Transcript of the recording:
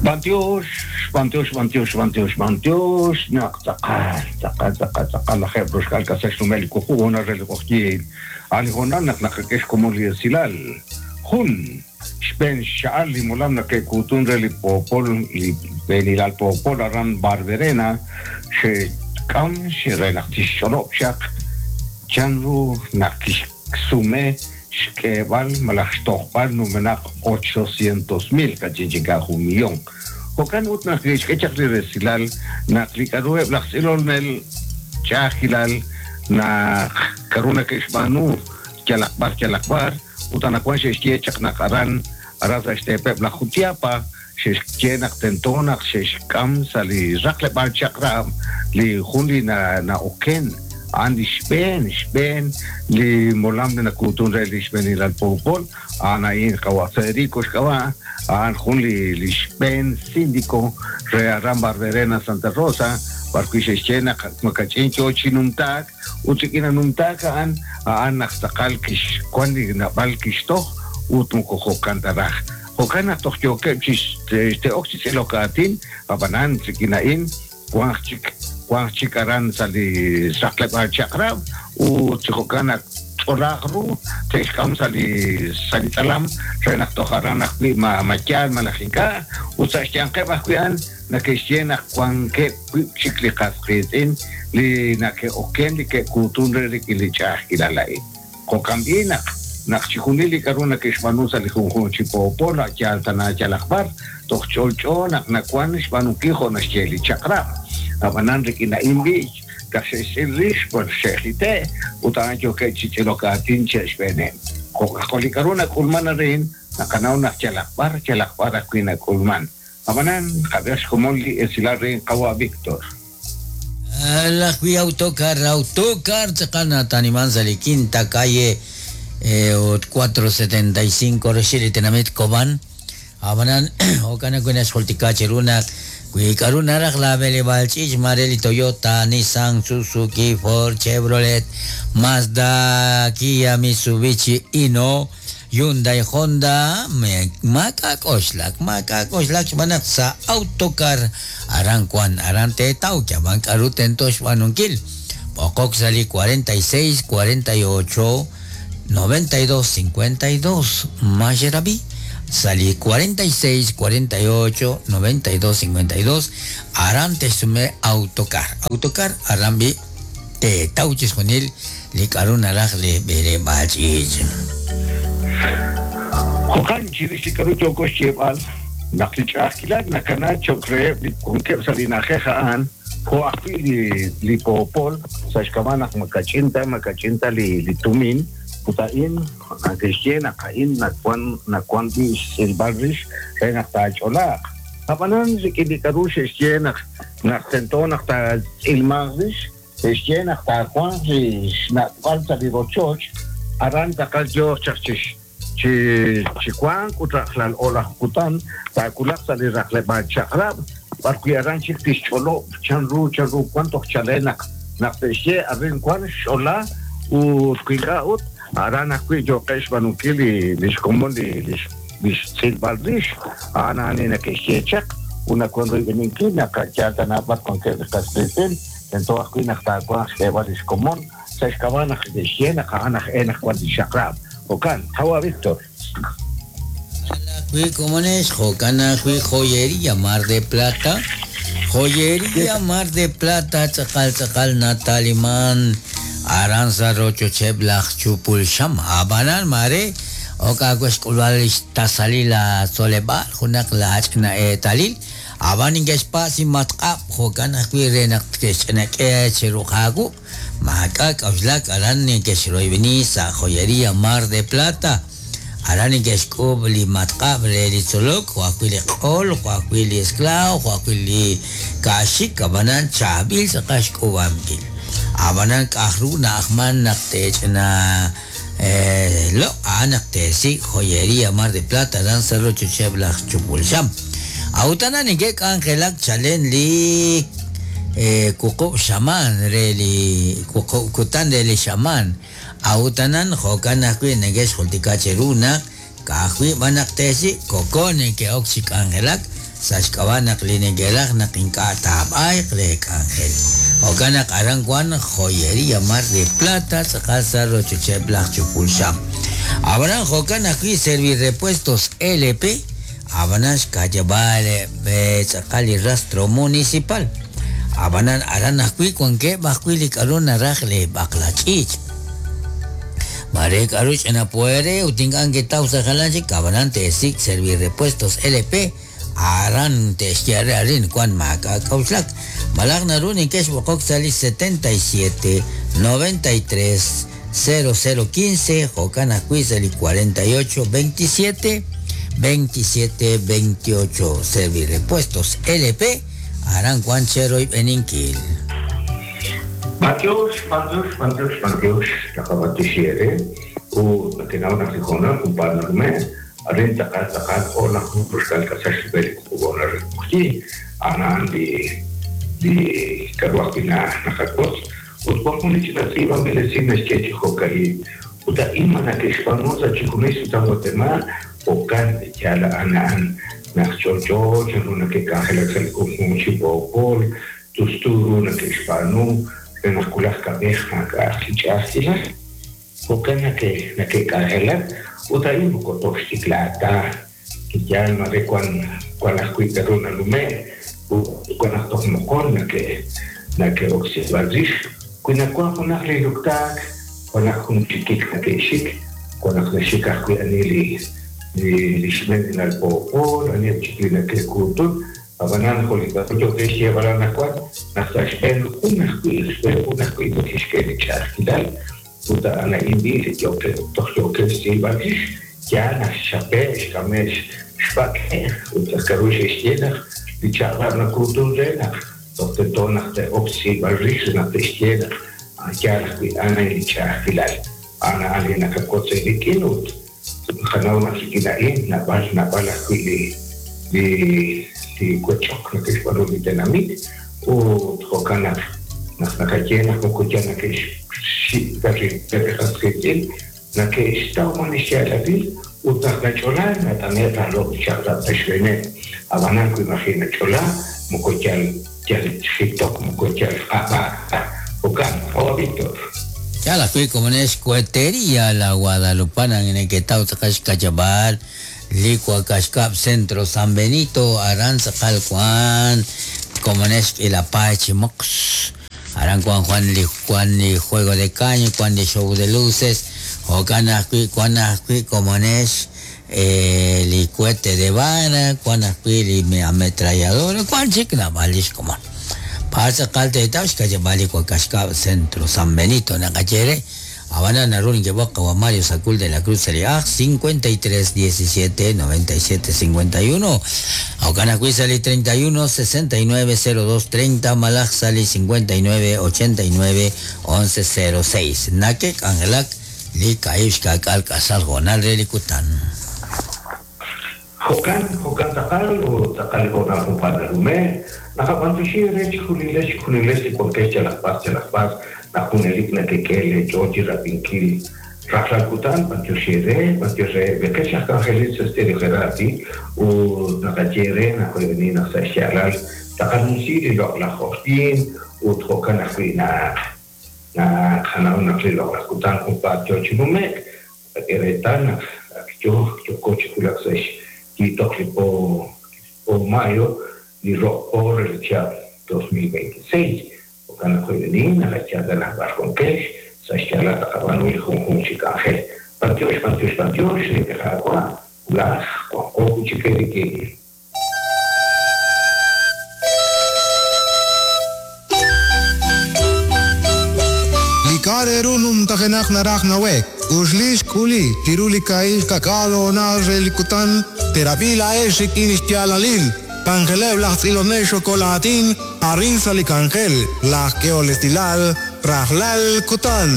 B'antiox, b'antiox, b'antiox, b'antiox, b'antiox, naq tz'aqal, tz'aqal, tz'aqal, tz'aqal lajeeb' roxk'aal k'asal xnumel li wuqub' hoonal re li q'oqyink. A' li hoonal naq naqak'e xkomon li esilal. Jun, xb'een xcha'al li molam nake'kuutun re li poopol, li b'eenilal poopol aran Barberena, xe'k'am re naq tixch'olob' chaq chan ru naq kixsume xk'eeb'al malaj xtojb'al numenaq ochocientos mil, kach'in chik ink'a' jun millón. Jo'kan ut naq ke'xk'e chaq li resilal naq li k'a'ru eb' laj tz'ilolnel ch'a'ajkilal naq k'a'ru nake'xb'aanu yalaq b'ar yalaq b'ar, ut anaqwan xe'xye chaq naq aran aran sa' xteepeb' laj Jutiapa xe'xye naq tento naq xe'xk'am sa' li raqleb'aal chaq'rab' li jun li na'oken a'an li xb'een xb'een li molam li nakuutun re li xb'eenilal poopol, a'an a'in qawa' Federico xk'ab'a', a'an jun li li xb'een sindiko re aran Barberena Santa Rosa, b'arwi' xe'xye naq makach'in yoo chi numtaak ut rik'in a numtaak a'an, a'an naq tz'aqal kixwan li naab'al kixtoj ut moko jo'kan ta raj. Jo'kan naq toj yookeb' chi te'ok chi tz'ilok aatin, ab'anan rik'in a'in wanq chik wanq chik aran sa' li raqleb'aal chaq'rab' ut chi jo'kan naq tch'olaaq ru te'xk'am sa' li sa' li tz'alam re naq toj aran ajwi' ma ma yaal malaj ink'a' ut sa' xyanqeb' ajwi' a'an nake'xye naq wankeb' wib' chik li qas qiitz'in li nake'oken li ke'kuutun re rik'in li ch'a'ajkilal a'in. Jo'kan b'i' naq, naq chijunil li k'a'ru neke'xb'aanu sa' li junjunq chi poopol a' yaal tana yalaq b'ar, toj ch'olch'o naq nawan xb'aanunkil jo' naxye li chaq'rab'. Ab'anan rik'in a'in b'i' naq xe'xtz'il rix, b'ar xe'jite', ut a'an yookeb' chi tz'ilok aatin che' xb'eeneb'. Jo' li k'a'ru nak'ulman arin, naqanaw naq yalaq b'ar, yalaq b'ar ajwi' nak'ulman. Ab'anan, qab'ihaq xkomon li esilal re qawa' Victor. Laj wi Autocar, Autocar tz'aqal nataniman sa' li Quinta Calle ut 475 roxil li tenamit Cobán. Ab'anan, jo'kan ajwi' naxjultika cheru naq wi k'a'ru naraj la b'eleb'aal ch'iich' maare li Toyota, Nissan, Suzuki, Ford, Chevrolet, Mazda, Kia, Mitsubishi, Hino, Hyundai, Honda, maak'a' k'oxlak, maak'a' k'oxlak xb'aan naq sa' Autocar aran wan, aran teetaw yab'an k'a'ru tento xb'aanunkil. B'oqok sa' li 46 48 92 52, Maxerabi, sa' li 46 48 92 52, aran te'xsume Autocar. Autocar aran b'i' teetaw chixjunil li k'a'ru naraj li b'eleb'aal ch'iich'. Jo'kan, chirix li k'a'ru yooko xyeeb'al, naq li ch'a'ajkilal nakana cho'q reheb' li wankeb' sa' li na'ajej a'an, jo' ajwi' li li poopol, sa' xk'ab'a' naq ma kach'in ta ma kach'in ta li li tumin, ut a'in nake'xye naq a'in nawan nawan b'i' xtz'ilb'al rix re naq taach'olaaq. Ab'anan rik'in li k'a'ru xe'xye naq naq tento naq taatz'ilmanq rix, xe'xye naq taawanq li xna'b'al sa' li rochoch, aran tz'aqal yooq chaq chi chi chi wank ut rajlal o'laj kutan taawulaq sa' li raqleb'aal chaq'rab', b'arwi' aran chik tixch'olob' chanru chanru wan toj chalen naq naq te'xye arin wan xch'ola ut wi ink'a' ut aran ajwi' yooqeb' xb'aanunkil li li xkomon li li li xtz'ilb'al rix, a'an a'an li neke'xye chaq, ut nawan royb'eninkil naq a' yaal ta naab'al wankeb' li qas qiitz'in, tento ajwi' naq taawanq xk'eeb'al li xkomon sa' xk'ab'a' naq neke'xye naq a'an aj e naq wan li chaq'rab'. Jo'kan, qawa' Victor. Ajwi' komonex, jo'kan ajwi' Joyería Mar de Plata, Joyería Mar de Plata tz'aqal tz'aqal nataliman aran sa' rochocheb' laj chupul xam, ab'anan maare Ok aawe xk'ulb'al li xtasalil laatzoleb'aal junaq laach'ina eetalil, ab'an neke'xpatz' li matq'ab' jo'kan ajwi' re naq te'xch'inak'e chiru aawu. Maak'a' k'a'uxlak aran neke'xroyb'eni sa' Joyería Mar de Plata. Aran neke'xk'uub' li matq'ab' re li tzolok, jo' ajwi' li q'ol, jo' ajwi' li esklaaw, jo' ajwi' li kaaxik, ab'anan chaab'il tz'aqal xk'uub'ankil. Ab'anan k'aj ru na'ajman naq te'ch'ina Loq' a'an naq teesik' Joyería Mar de Plata aran sa' rochocheb' laj chupul xam. A'ut aran neke'k'anjelak chalen li wuqub' xamaan re li wuqub' kutan re li xamaan. A'ut anan jo'kan ajwi' neke'xjultika cheru naq ka'ajwi' b'an naq teesik' koko neke'ok chi k'anjelak. Sa' xk'ab'a' naq li neke'raj naq ink'a' taab'ayq leek'anjel. Jo'kan naq aran wank Joyería Mar de Plata tz'aqal sa' rochocheb' laj chupul xam. Ab'anan jo'kan ajwi' Servirepuestos LP, ab'anan xka'yab'aal tz'aqal li rastro municipal. Ab'anan aran ajwi' wankeb' ajwi' li k'aru naraj leeb'aqla ch'iich'. Mare k'aru ch'ina poere ut ink'a' nketaw sa' jalan chik, ab'anan teesik' Servirepuestos LP aran te'xye re arin wan maak'a' k'a'uxlak. Malaj naru neke'xb'oqok sa' li 77 93 00 15 jo'kan ajwi' sa' li 48 27 27 28 Servirepuestos LP aran wan cheroyb'eninkil. B'antiox, b'antiox, b'antiox, b'antiox, naqab'antioxi eere ut nakenaw naq li hoonal junpaat nanume', arin tz'aqal tz'aqal jo' naq jun ruxkal k'asal xrub'el li wuqub' re q'oqyink, a'an a'an li li k'a'ru ajwi' na naqawotz ut wan jun li ch'ina tz'iib'anb'il esil naxye chi jo'ka'in, ut a'in ma nake'xb'aanu sa' chixjunil sutam Watemaal, jo'kan yaal a'an a'an naq ch'olch'o chanru nake'k'anjelak sa' li junjunq chi poopol, tustu ru nake'xb'aanu re naq wulaj kab'ej maak'a'aq li ch'a'ajkilal. Jo'kan nake nake'k'anjelak ut a'in moko toj xtiklaak ta, yaal mare wan wan ajwi' k'a'ru nanume' ut wan naq toj moqon nake nake'oksib'al rix. Wi nawan junaq li luktaak, wan naq jun chikik nake'xik, wan naq naxik ajwi' ani li li li xb'eenilal poopol, aniheb' chik li nake'kuutun, ab'anan jo' li k'a'ru yookeb' xyeeb'al anaqwan, naq sa' xb'een jun ajwi' xb'een jun ajwi' nake'xk'e li ch'a'ajkilal ut a'an a'in b'i' li yookeb' toj yookeb' xtz'iib'al rix, yaal naq xchape' xk'ame' xb'ak'e' ut k'a'ru xe'xye naq li chaq'rab' nakuutun re naq toj tento naq te'ok xtz'iib'al rix re naq te'xye naq yaal ajwi' a'an a'in li ch'a'ajkilal. A'an a'an li naqawotz eerik'in ut naqanaw naq rik'in a'in naab'al naab'al ajwi' li li li wech'ok nake'xb'aanu li tenamit ut jo'kan naq naq naqaye naq moko yal nake'xxik' ta rib'eb' li qas qiitz'in, nake'xtaw b'an li xyaalalil ut naq nach'ola nat'ane' rajlal li chaq'rab' sa' xb'eeneb'. Ab'anan wi maji' nach'ola moko yal yal jitok moko yal q'ab'aak ta. Jo'kan, qawa' Víctor. Yaal ajwi' komonex Cohetería La Guadalupana neketaw tz'aqal xka'yab'aal li Wakaaxkab' Centro San Benito aran tz'aqal wan komonex k'iila paay chi moqx. Aran wan Juan li wan li juego de caño, wan li show de luces, jo'kan ajwi' wan ajwi' komonex li cohete de vara, wan ajwi' li ametralladora, wan chik naab'al li xkomon. B'ar tz'aqal teetaw xka'yab'aal li Wakaaxkab' Centro San Benito naqaye re. Ab'anan naru neke'b'oq qawa' Mario Sacul de la Cruz sa' li ajl 53 17 97 51. Jo'kan ajwi' sa' li 31 69 02 30 malaj sa' li 59 89 11 06. Nake'k'anjelak li kaahib' xka'k'aal k'asal hoonal re li kutan. Jo'kan, jo'kan tz'aqal ut tz'aqal li hoonal junpaat nanume', naqab'antioxi eere chejunilex chejunilex li wankex yalaq b'ar yalaq b'ar naq junelik nekek'e lee ch'ool chi rab'inkil rajlal kutan, b'antiox eere, b'antiox reheb' li qech aj k'anjelil sa' Stereo Gerardi ut naqaye eere naq oyb'eni naq sa' xyaalal taqanumsi li loq'laj q'oqyink ut jo'kan ajwi' naq naqanaw naq li loq'laj kutan junpaat yoo chi nume'k, naqak'e reetal naq ak yoo yooko chi wulak sa' xyiitoq li po po mayo li ro' po re li chihab' 2026. Jo'kan naq oyb'eni naqayaal naq b'ar wankex sa' xyaalal taqab'aanu li junjunq chi k'anjel. B'antiox, b'antiox, b'antiox, li Qaawa' wulaj wanqo wi' chik eerik'in. Li k'a' re ru numtajenaq naraj nawe'k, uxli xk'uli chiru li kaahib' xka'k'aal hoonal re li kutan, teerab'i laa'ex rik'in xyaalalil, k'anjeleb' laj tz'ilonel xokol aatin arin sa' li k'anjel, laj k'ehol esilal, rajlal kutan.